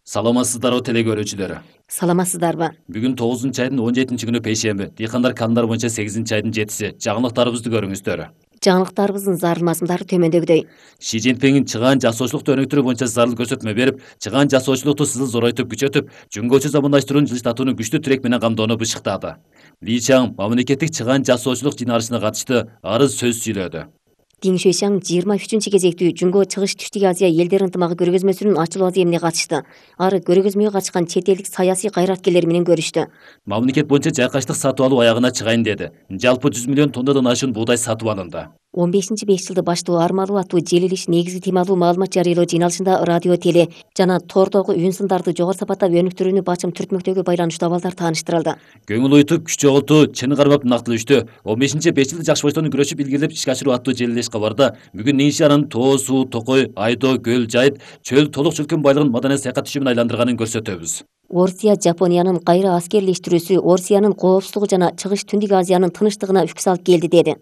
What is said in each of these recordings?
Саламатсыздарбы теле көрүүчүлөр. Саламатсыздарбы? Бүгүн 9-айдын 17-күнү пейшемби. Дыйкандар календар боюнча 8-айдын 7-си. Жаңылыктарыбызды көрүңүздөр. Жаңылыктарыбыздын зарыл мазмундары төмөндөгүдөй. Ши Цзиньпин чыгаан жасоочулукту өнүктүрүү боюнча зарыл көрсөтмө берип, чыгаан жасоочулукту сызыл зоройтуп күчөтүп, жөнгөчө замандаштырууну жылыштатууну күчтүү тирек менен камдоону бышыктады. Ли Чаң мамлекеттик чыгаан жасоочулук жыйналышына катышты, арыз сөз сүйлөдү. Диң Шуйшаң 23 кезектүү Жунго чыгыш Түштүк Азия элдер ынтымагы көргөзмөсүнүн ачылуу аземине катышты. Ары көргөзмөгө катышкан чет элдик саясий кайраткерлер менен көрүштү. Мамлекет боюнча жайкаштык сатып алуу аягына чыгайын деди. Жалпы 100 миллион тоннадан ашуун буудай сатып алынды. 15-5 жылды баштоо армалуу аттуу желилиш негизги темалуу маалымат жарыялоо жыйналышында радио, теле жана тордогу үн сындарды жогору сапаттап өнүктүрүүнү бачым түртмөктөгү байланыштуу абалдар тааныштырылды. Көңүл уютуп, күч жоготуу, чын кармап нактылыштуу. 15-5 жылды жакшы боштон күрөшүп илгерилеп ишке ашыруу аттуу желилеш кабарда бүгүн Нишанын Тоо суу, Токой, Айдоо, Көл, Жайыт, чөл толук чөлкөн байлыгын маданий саякат түшүмүн айландырганын көрсөтөбүз. Орусия Жапониянын кайра аскерлештирүүсү Орусиянын коопсуздугу жана Чыгыш Түндүк Азиянын тынчтыгына үк салып келди деди.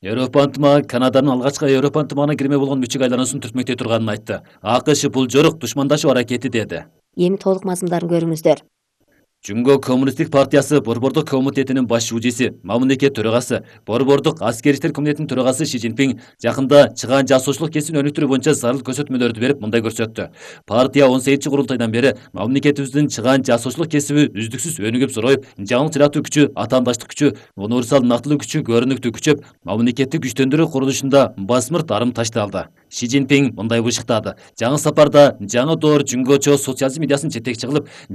Европа ынтымагы Канаданын алгачкы Европа ынтымагына кирме болгон мүчөгө айлануусун түртмөктөй турганын айтты. АКШ бул жорук душмандашуу аракети деди. Эми толук мазмундарын көрүңүздөр. Жунго Коммунисттик партиясы Борбордук комитетинин баш шүүжүсү, мамлекет төрагасы, Борбордук аскер иштер комитетинин төрагасы Ши Цзиньпин жакында чыгаан жасоочулук кесибин өнүктүрүү боюнча зарыл көрсөтмөлөрдү берип мындай көрсөттү. Партия 18-курултайдан бери мамлекетибиздин чыгаан жасоочулук кесиби үздүксүз өнүгүп зороюп, жаңылык жаратуу күчү, атаандаштык күчү, универсал нактылуу күчү көрүнүктүү күчөп, мамлекеттик күчтөндүрүү курулушунда басмыр тарым ташталды. Ши Цзиньпин мындай бышыктады. Жаңы сапарда жаңы доор жөнгөчө социализм идеясын жетекчи кылып,